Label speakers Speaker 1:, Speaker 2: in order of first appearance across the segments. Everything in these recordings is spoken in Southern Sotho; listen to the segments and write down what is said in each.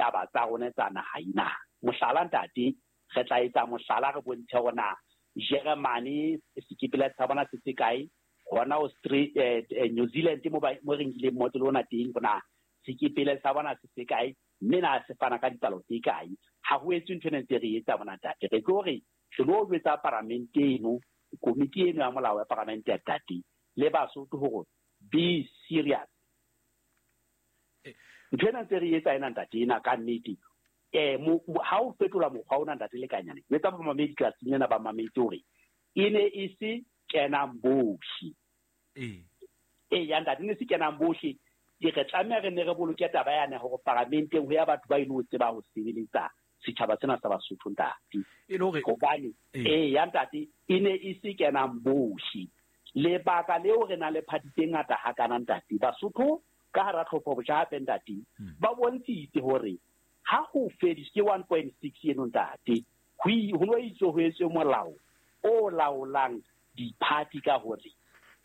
Speaker 1: ditaba tsa rona tsa naha ena. Mohlala ntate, re tla etsa mohlala re bontshe hore na Jeremane sekepele sa bona se se kae, hona New Zealand mo re nkileng motlolo ona teng, hore na sekepele sa bona se se kae, mme na se fana ka dipalo tse kae. Ha ho etswe ntho ena ntse re etsa mona ntate. Re tlo re re lo jwetsa paramente eno, komiti eno ya molao ya paramente ya ntate, le Basotho hore be serious. Ntho ena ntse re etsa ena ntate ena ka nnete. Ha o fetola mokgwa ona ntate Lekanyane, jwetsa bamamedi tlatsing lena ba mametse hore e ne e se kenang bohle. Ya ntate, ne se kenang bohle. Re tlameha re ne re boloke taba yane hore paramenteng ho ya batho ba ilo tseba ho sebeletsa setjhaba sena sa Basotho ntate. Hobane ya ntate e ne e se kenang bohle. Lebaka leo re nang le party tse ngata hakana ntate, Basotho ka hara tlhopho botjha hape ntate, ba bontshitse hore ha ho fediswe ke 1.6 eno ntate, ho no itse ho etswe molao o laolang di-party ka hore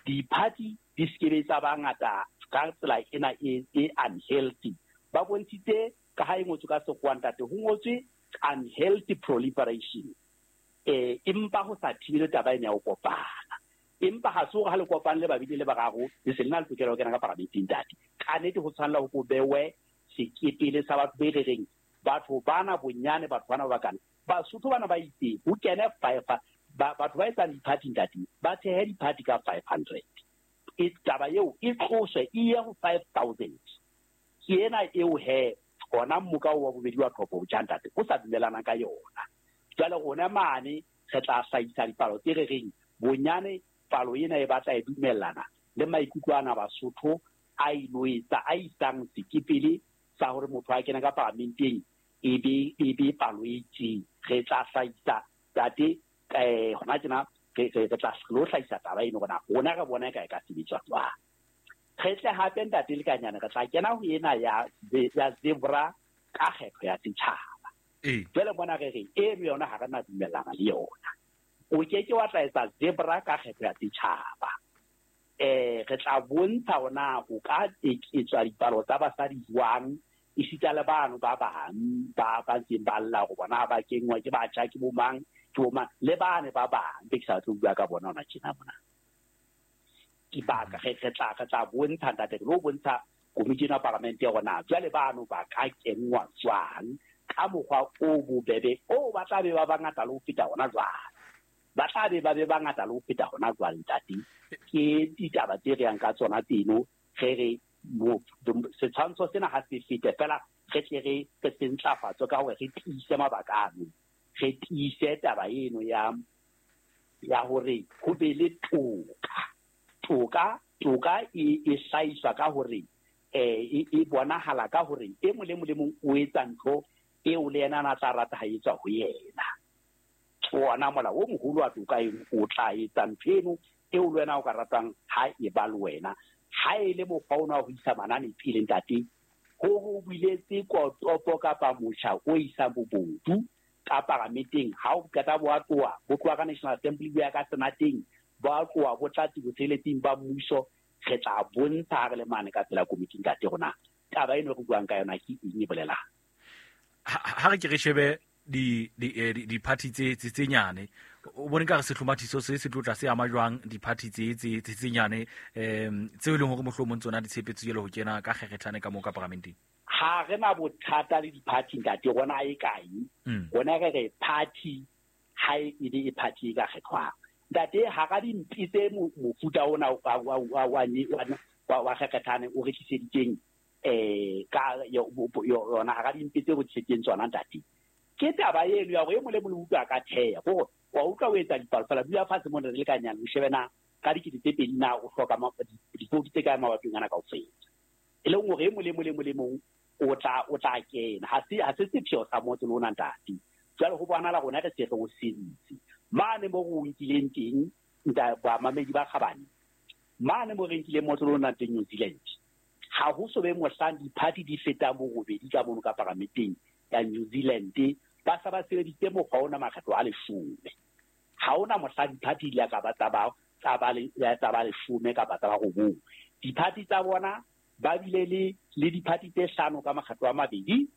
Speaker 1: di-party di se ke tsa ba ngata ka tsela ena e unhealthy. Ba bontshitse ka ha e ngotswe ka sekgowa ntate, ho ngotswe unhealthy proliferation. Empa ho sa thibele taba ena ya ho kopana. Empa ha se hore ha le kopane le babedi le bararo, le se le na le tokelo ya ho kena ka paramenteng ntate. Ka nnete ho tshwanela ho bewe sekepele sa batho be re reng batho bana bonyane, batho bana ba bakana. Basotho bana ba itse ho kene five, batho ba etsang di-party ntate, ba thehe di-party ka 500. E taba eo e tloswe e ye ho 5,000. Ke ena eo he hona mmoka wa bobedi wa tlhopho botjha ntate o sa dumelana ka yona. Jwale rona mane re tla hlahisa dipalo tse re reng bonyane palo ena e batla e dumellana le maikutlo ana Basotho a ilo etsa a isang sekepele sa hore motho a kena ka paramenteng e be palo e itseng. Re tla hlahisa ntate hona tjena re tla lo hlahisa taba eno hore rona re bona e ka e ka sebetswa jwang. Re tle hape ntate Lekanyane re tla kena ho ena ya zebra ka kgetho ya setjhaba. Jwale bona re re eno yona ha re na dumellana le yona. O ke ke wa tla etsa zebra ka kgetho ya setjhaba. Re tla bontsha hore na ho ka etswa dipalo tsa basadi jwang, esita le bano ba bang ba ntseng ba lla hore bona ba kenngwa ke batjha, ke bomang, ke bomang, le bane ba bang be ke sa tlo bua ka bona hona tjena mona. Dibaka re tla bontsha ntate, re lo bontsha komiti ena ya paramente hore na jwale bano ba ka kenngwa jwang ka mokgwa o bobebe o ba tla be ba bangata le ho feta hona jwale. Ba tla be ba be bangata le ho feta hona jwale ntate. Ke ditaba tse re yang ka tsona tseno, re re setshwantsho sena ha se fete fela, re tle re se ntlafatse ka hore re tiise mabaka ano, re tiise taba eno ya hore ho be le toka. Toka e hlahiswa ka hore e bonahala ka hore e mong le mong le mong o etsa ntho eo le yena a tla rata ha etswa ho yena. Ona molao o moholo wa toka eno o tla etsa ntho eno eo le wena o ka ratang ha e ba le wena. Ha e le mokgwa ona wa ho isa manane pele ntate, ho ho buletse kotopo kapa motjha o isang bobodu ka paramenteng. Ha o qeta bo a tloha, bo tloha ka National Assembly bo ya ka Senateng, bo a tloha bo tla botsheletsing ba mmuso. Re tla bontsha ha re le mane ka pela komiti ntate rona taba eno re buang ka yona ke eng e bolelang.
Speaker 2: Ha re ke re shebe di-party tse nyane, o bone ka re sehlomathiso se se tlo tla se ama jwang di-party tse nyane tseo e leng hore mohlomong tsona di tshepetse jwale ho kena ka kgerethane ka moo ka paramenteng?
Speaker 1: Ha re na bothata le di-party ntate, rona e kae? Rona re re party ha e be e party e ka kgethwang. Ntate, hara dimpi tse mofuta ona wa kgerethane o re tliseditseng ka yona, hara dimpi tse re tliseditseng tsona ntate, ke taba eno ya hore e mong le mong o utlwa ka theha, hore wa utlwa o etsa dipalo fela, dula fatshe mona re le ka nyane, o shebe na ka 2000 na o hloka dipoutu tse kae mabatong ana kaofela. E leng hore e mong le mong le mong le mong o tla kena. Ha se sepheo sa motse le ona ntate. Jwale ho bonahala rona re se re o sentse. Mane mo re o nkileng teng, bamamedi ba kgabane, mane mo re nkileng motse le ona teng New Zealand, ha ho so be mohlang di-party di fetang borobedi ka mono ka paramenteng ya New Zealand, ba sa ba sebeditse mokgwa ona makgetlo a 10. Ha hona mohla di-party di ka ba tsa ba 10 kapa tsa ba 9. Di-party tsa bona ba bile le di-party tse 5 ka makgetlo a 2.